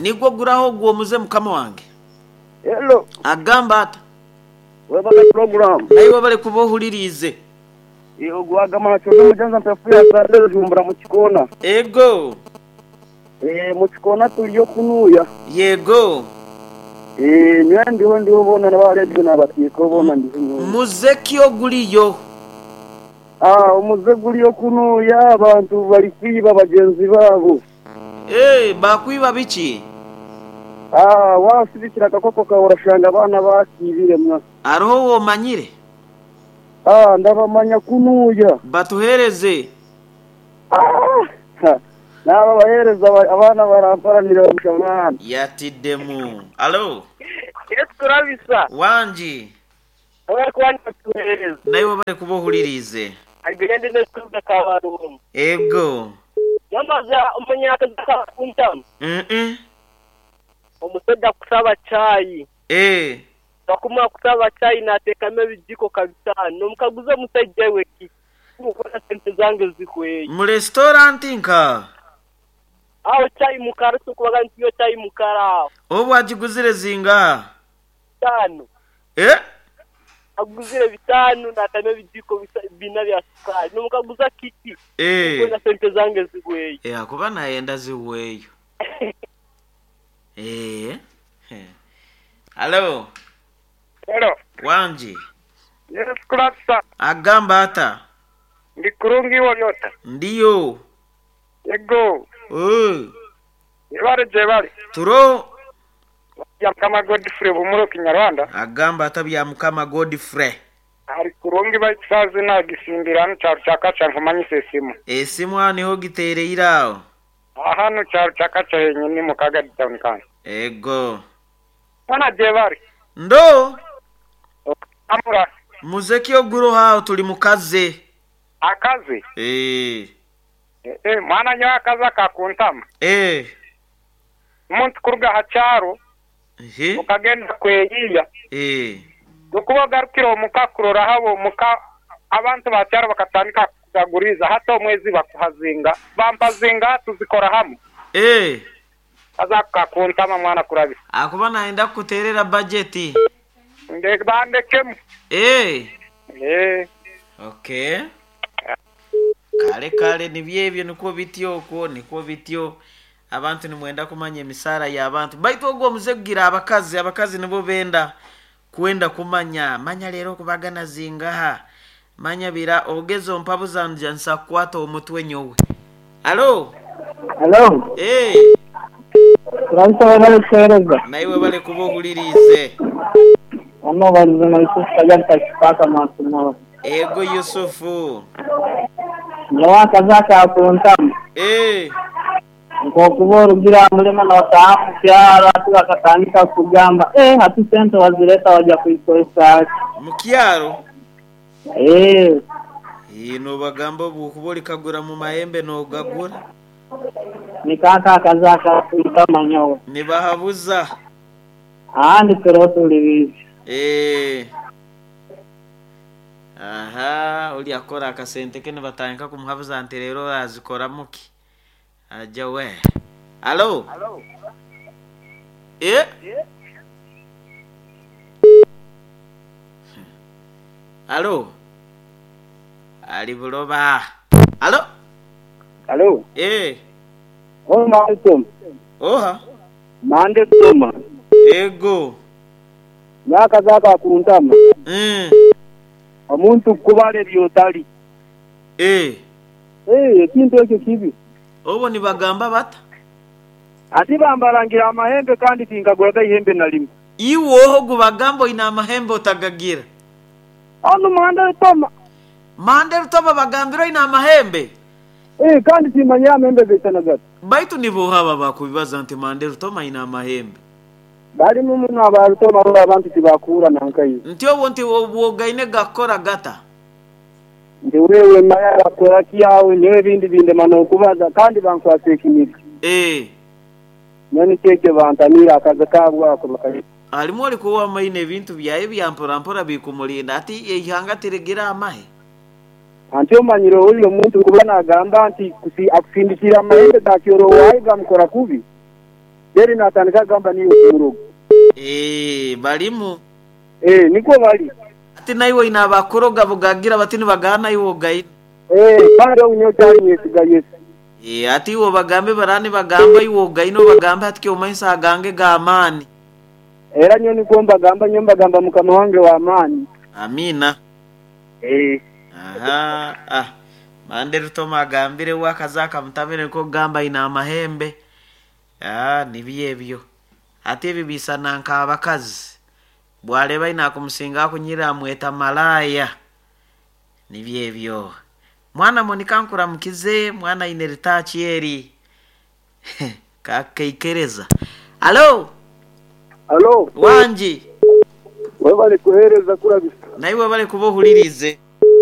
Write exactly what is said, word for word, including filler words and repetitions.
Nigwo guraho gwomuze mukama wange. Hello. Agamba ata. Webale program. Naiwe bale kuba ohuliriize. Ogwagama nakyo mujanza mpefu ya sandero jumbura mu kikona. Ego. Eh mu kikona tuliyo kunuya. Yego. Eh nyo ndiho ndiho bona n'abaredio n'abatiko bona ndiho. Muzeki oguliyo. Ah omuze guliyo kunuya abantu bali kwiba bagenzi babo. Eh bakwiba biki? Ah wasibikira akakoko kaworashanga abana bakibire mwa. Aroho womanyire? Ah ndabamanya kunuya. Batuhereze. Ah naba bahereza abana baramparanira mushamana. Yatiddemu. Alo. Yesu turabisa. Wanji. Oya kwani batuhereze. Naiwe bale kuba ohulirize. Agende n'ekuza kabarumu. Ego. Yamaza umunyakaza kuntamu. Mhm. Omusajja kusaba chai. Eh. Bakuma kusaba chai nateekamu ebijiko kabitano. Omukaguza omusajja we ki? Mukora sente zange zikweye. Mu restaurant nka. Aho chai mukara tukubaga ntiyo chai mukara. Obu agiguzire zinga? Bitano. Eh? Aguzire bitano natame ebijiko bina bya sukari. Nomukaguza kiki? Eh. Mukora sente zange zikweye. Eh akuba nayenda ziweyo. Eh. Hello. Hello. Wanji. Yes, kurasa. Agamba ata. Ndi kurungi waliota. Ndiyo. Yego. Eh. Yebare jebare. Turo. Ya Mukama Godfrey bumuro Kinyarwanda. Agamba ata bya Mukama Godfrey. Ari kurungi baitsazi na gisimbirano cyaru cyakaca nkumanyise simu. Esimu aniho gitereye iraho. Ahano cyaru cyakaca henyine mu Kagari town kandi. Ego. Bana jebare. Ndo. Amura. Muzeki oguro hao tuli mukaze. Akazi? Eh. Eh, mwana nyo akaza kakuntama. Eh. Umuntu kuruga hacharo. Eh. Ukagenda kweyiya. Eh. Dokuba garukiro mukakurora habo muka abantu bacyaro bakatandika kugaguriza hato mwezi bakuhazinga bampazinga tuzikora hamwe. Eh. Aza kakuntama mwana kurabi. Akuba naenda kuterera budget. Nde bandekemu. Eh. Eh. Okay. Kale kale nibyebyo niko bityo okwo niko bityo abantu nimwenda kumanya emisara y'abantu baitu ogwo omuze kugira abakazi abakazi nibo benda kwenda kumanya manya lero kubagana zingaha manya bira ogezo mpabuza nja nsakwata omutwe nyowe. Alo. Hello. Eh. Turabisa bale kuhereza. Naiwe bale kuba ohulirize. Ono balize na Yusufu kajanta kipaka matumo. Ego Yusufu. Nyawa kazaka akuntamu. Eh. Nkokuba orugira mulema na wataamu kyaro ati bakatandika kugamba eh hati sente wazileta waja kuikozesa mu kyaro. Eh. Ino bagamba obukuba olikagura mu mahembe n'ogagura. Nikaka kazaka akuntamu nyowe. Nibahabuza. Andi turotulibizi. Eh. Aha, uli akora akasente ke nibatandika kumuhabuza nti rero azikora muki. Aja we. Alo. Alo. Eh? Alo. Ali buloba. Alo. Alo. Eh. Oh maalaikum. Oha. Mande toma. Ego. Nyaka zaka kuntama. Mm. Omuntu kubale byotali. Eh. Eh, ekintu ekyo kibi. Obo nibagamba bata. Ati bambarangira amahembe kandi tinkaguraga ihembe na limwe. Iwoho gubagamba ina amahembe otagagira. Ono manda toma. Mande rutoma bagambira ina amahembe. Eh, kandi timanya amahembe betana gato. Baitu nibo haba bakubibaza nti mande rutoma ina amahembe. Bali muno abarutoma abantu tibakura nankayo. Nti obo nti obwogaine gakora gata. Ndi wewe maya bakora kiyawe niwe bindi binde mano kubaza kandi bankwase ekiniga. Eh. Nani keke bantamira akaza kabwa ako bakayi. Alimu alikuwa maine ebintu byaye byampora mpora bikumulinda ati ihanga tiregira amahe. Anti omanyire oyo omuntu kuba nagamba nti akusindikira amahembe gakyoro wayi gamukora kubi. Then natandika agamba niyo kumuroga. Eh, balimu. Eh, nikwo bali. Ati naiwe ina abakuroga bugagira bati nibagana iwe ogaine. Eh, kandi onyo cyari yesiga Yesu. Eh, ati iwe bagambe barani bagamba iwe ogaine obagambe ati kyomaisa agange g'amaani. Era nyo nikwo mbagamba, nyo mbagamba mukama wange wa amaani. Amina. Eh. Aha, ah. Mande rutoma agambire wakaza mutabire nko gamba ina amahembe. Ah, nibyo ebyo. Ate ebi bisana nk'abakazi. Bwareba ina kumusinga akunyira amweta malaya. Nibyo ebyo. Mwana Monica nkuramukize, mwana ine ritachi eri. Kakeikereza. Alo, Alo, wanji. wewe bali kuhereza kurabisa. Naiwe bali kubohulirize.